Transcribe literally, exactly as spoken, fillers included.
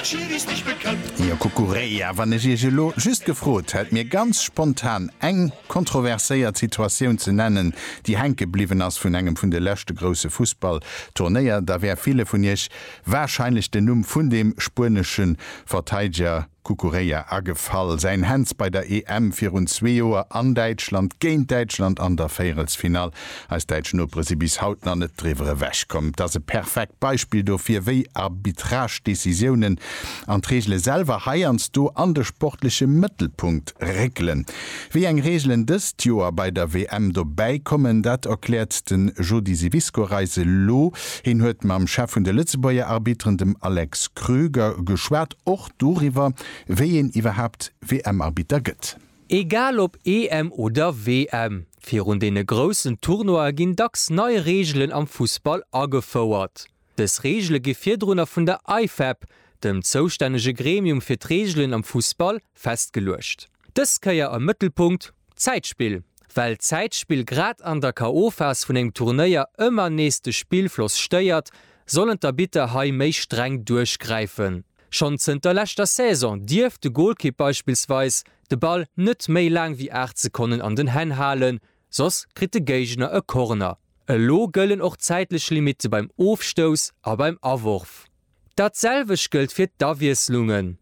Jo, Cucurella, wann ech Iech elo just gefrot hätt, mir ganz spontan eng kontroverséiert Situatioun ze nennen, déi hänke bliwwen ass vun engem vun de leschte grousse Fussballturnéier, da wär ville vun Iech warscheinlech den Numm vun deem spuenesche Verteideger Cucurella agefall. Säin Hands bei der E M virun zwee Joer an Däitschland géint Däitschland an der Véierelsfinall. Eis däitsch Nopere si bis haut nach net driwwer ewechkomm. Et ass e perfekt Beispill dofir, wéi Arbitrage-Decisiounen an d'Reegele selwer heiansdo an de sportleche Mëttelpunkt réckelen. Wéi eng Reegelen dëst Joer bei der W M dobäi kommen, dat erkläert de Jody Siwisko eis elo. Hien huet mam Chef vun de Lëtzebuerger Arbitteren, dem Alex Kröger, geschwat, och doriwwer, wéi een iwwerhaapt W M-Arbitter gëtt. Egal ob E M oder W M, virun deene groussen Tournoie ginn dacks nei Reegelen am Fussball agefouert. Dës Reegele gi virdrunner vun der IFAB, dem zoustännege Gremium fir d'Reegelen am Fussball, festgeluecht. Dës Kéier am Mëttelpunkt, Zäitspill. Well Zäitspill grad an der K O. Phas vun engem Turnéier ëmmer nees de Spillfloss stéiert, sollen d'Arbitter hei méi streng duerchgräifen. Schonn zënter leschter Saison dierf de Golkipp beispillsweis de Ball net méi laang wéi aacht Sekonnen an den Hänn halen, soss kritt de Géigner e Corner. Elo gëllen och zäitlech Limitte beim Ofstouss a beim Aworf. Dat selwecht gëllt fir d'Awiesslungen.